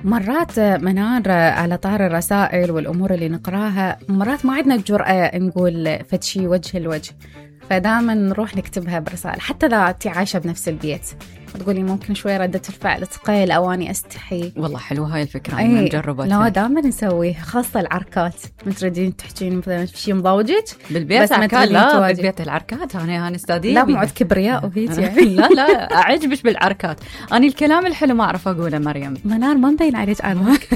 مرات منار على طار الرسائل والأمور اللي نقراها، مرات ما عندنا الجرأة نقول فتشي وجه الوجه، فدائما نروح نكتبها برسائل. حتى إذا أنتي عايشة بنفس البيت تقولي ممكن شوي ردة الفعل تقيل أو أني أستحي. والله حلوة هاي الفكرة، أنا مجربتها. لا دائما نسويها، خاصة العركات. تريدين تحكين مثلا في شيء مضوجك بالبيت عركات؟ لا بالبيت العركات أنا استاذية. لا معد كبرياء وهيك يعني. لا أعجبش بالعركات. أنا الكلام الحلو ما أعرف أقوله مريم. منار ما مبين عليك عنك.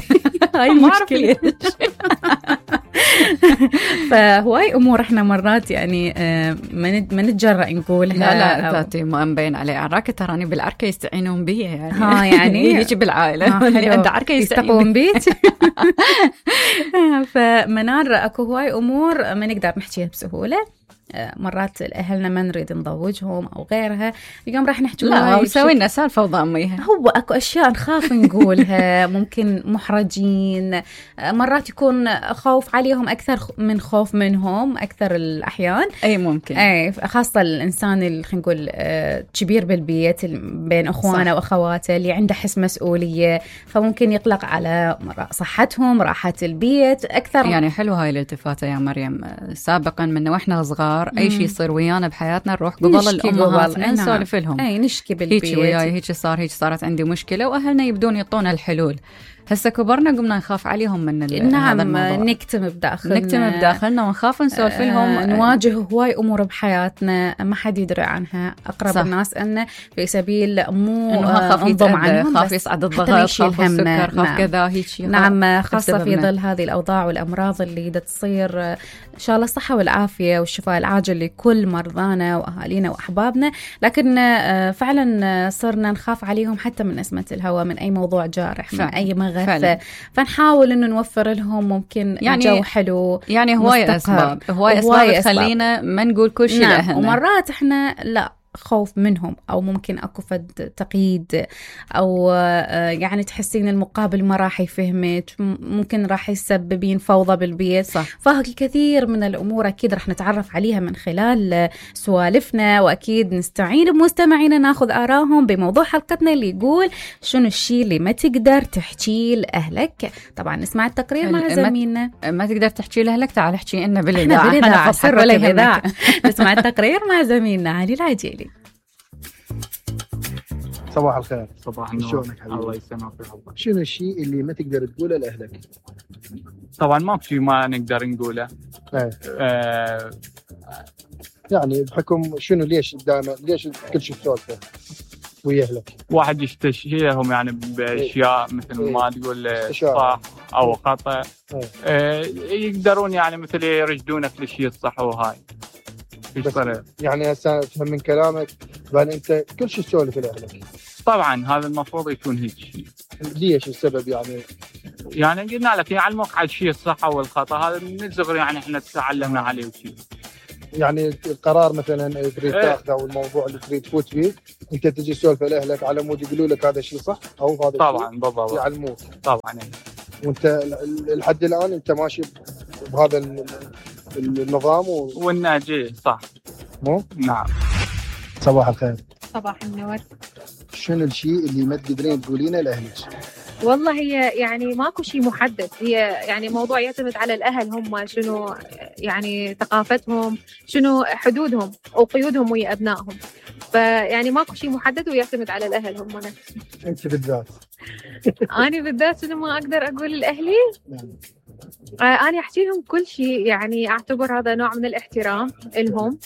هاي ما أعرف ليش. فهواي أمور إحنا مرات يعني ما نتجرأ نقولها. لا ذاتي ما مبين عليه عراكة، تراني بالعركة يستعينون بي يعني. ها يعني هيك بالعائلة اللي عنده عركة يستقون بيت. فمنار أكو هواي أمور ما نقدر نحكيها بسهولة. مرات أهلنا ما نريد نضوجهم أو غيرها، اليوم راح نحكي لا وسوي لنا سالفة وضاميها. هو أكو أشياء نخاف نقولها، ممكن محرجين، مرات يكون خوف عليهم أكثر من خوف منهم أكثر الأحيان. أي ممكن. أي خاصة الإنسان اللي خلينا نقول كبير بالبيت بين أخوانه وأخواته اللي عنده حس مسؤولية، فممكن يقلق على صحتهم راحة البيت أكثر. يعني حلو هاي الالتفاتة يا مريم. سابقا من وإحنا صغار أي شيء يصير ويانا بحياتنا نروح قبل الأمهات نسولف لهم. أي نشكي بالبيت. هيك وياي هيك صار، هيك صارت عندي مشكلة، وأهلنا يبدون يعطونا الحلول. هسه كبرنا قمنا نخاف عليهم من نعم نكتم بداخلنا ونخاف نسولف لهم. نواجه هواي أمور بحياتنا ما حد يدري عنها، أقرب الناس أنه في سبيل مو انضم عنهم، خاف يصعد الضغط، خاف السكر، خاف كذا هيك. نعم خاصة في ظل هذه الأوضاع والأمراض اللي تصير. إن شاء الله الصحة والعافية والشفاء العاجل لكل مرضانا وأهالينا وأحبابنا، لكن فعلا صرنا نخاف عليهم حتى من نسمة الهواء، من أي موضوع جارح، من أي مغثة. فنحاول إنه نوفر لهم ممكن يعني جو حلو. يعني هواي أسباب تخلينا ما نقول كل شيء لأهلنا. ومرات إحنا لا خوف منهم، أو ممكن أكو فد تقييد، أو يعني تحسين المقابل ما راح يفهمك، ممكن راح يسببين فوضى بالبيت. فالكثير من الأمور أكيد راح نتعرف عليها من خلال سوالفنا، وأكيد نستعين بمستمعينا ناخذ آراهم بموضوع حلقتنا اللي يقول شنو الشيء اللي ما تقدر تحكي لأهلك. طبعا نسمع التقرير مع زميلنا. ما تقدر تحكي لأهلك، تعال احكي لنا بالإذاعة. أنا سر ولا الإذاعة. نسمع التقرير مع زميلنا علي العجيلي. صباح الخير. صباح النور. شلونك حبيبي؟ الله يسلمك يا الله. شنو الشيء اللي ما تقدر تقوله لأهلك؟ طبعا ماكو شيء ما نقدر نقوله. يعني بحكم شنو ليش كل شيء تسولفه ويا أهلك؟ واحد يستشيرهم يعني بأشياء مثل ما تقول صح أو خطأ. يقدرون يعني مثل يرشدونك للشيء الصح وهاي. يعني هسه أفهم من كلامك بأن أنت كل شيء تسولف لأهلك. طبعا هذا المفروض يكون هيك شيء. ليش السبب يعني قلنا لك يعلموك على الشيء الصح والخطأ، هذا من الصغر يعني احنا تعلمنا عليه وشيء. يعني القرار مثلا تريد تاخذه او الموضوع اللي تريد تفوت فيه انت تجي تسولف لاهلك على مود يقولوا لك هذا الشيء صح او هذا طبعا بالضبط يعلموك طبعا. وانت لحد الان انت ماشي بهذا النظام والناجي صح مو؟ نعم. صباح الخير. صباح النور. شنو الشيء اللي ما تقدرين تقولينه لاهلك؟ والله هي يعني ماكو شيء محدد، هي يعني موضوع يعتمد على الأهل هم شنو يعني ثقافتهم، شنو حدودهم أو قيودهم ويا أبنائهم، فيعني ماكو شيء محدد ويعتمد على الأهل هم نفسهم. أنت بالذات؟ أنا بالذات شنو ما أقدر أقول لأهلي؟ أنا أحكي لهم كل شيء، يعني أعتبر هذا نوع من الاحترام لهم،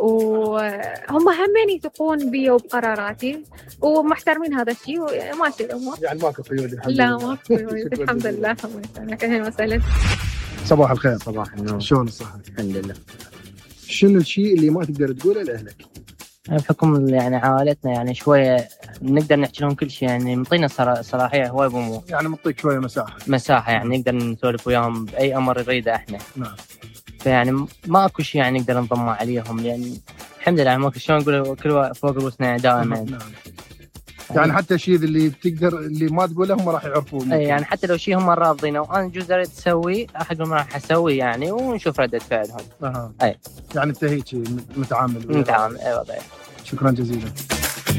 وهم همين يثقون بي وبقراراتي ومحترمين هذا الشيء وماشي الأمور. يعني ماكو قيود الحمد لله؟ لا ماكو قيود الحمد لله. أهلا وسهلا. صباح الخير. صباح النور. شلون الصحة؟ الحمد لله. شنو الشيء اللي ما تقدر تقوله لأهلك؟ بحكم يعني عائلتنا يعني شوية نقدر نحكي لهم كل شيء، يعني مطينا صلاحية هواي بأمور، يعني مطيك شوية مساحة يعني نقدر نسولف وياهم بأي أمر نريده إحنا. نعم. فيعني ما أكو شيء يعني نقدر نضم عليهم، يعني الحمد لله ماكو شلون نقول كل فوق رؤوسنا دائما. نعم. يعني حتى الشيء اللي بتقدر اللي ما تقوله هم راح يعرفون. اي يعني حتى لو شيء هم رافضينه وانا جزء اريد اسوي راح اقول راح اسوي يعني ونشوف ردة فعلهم. اي يعني انت هيك متعامل. اي والله. شكرا جزيلا.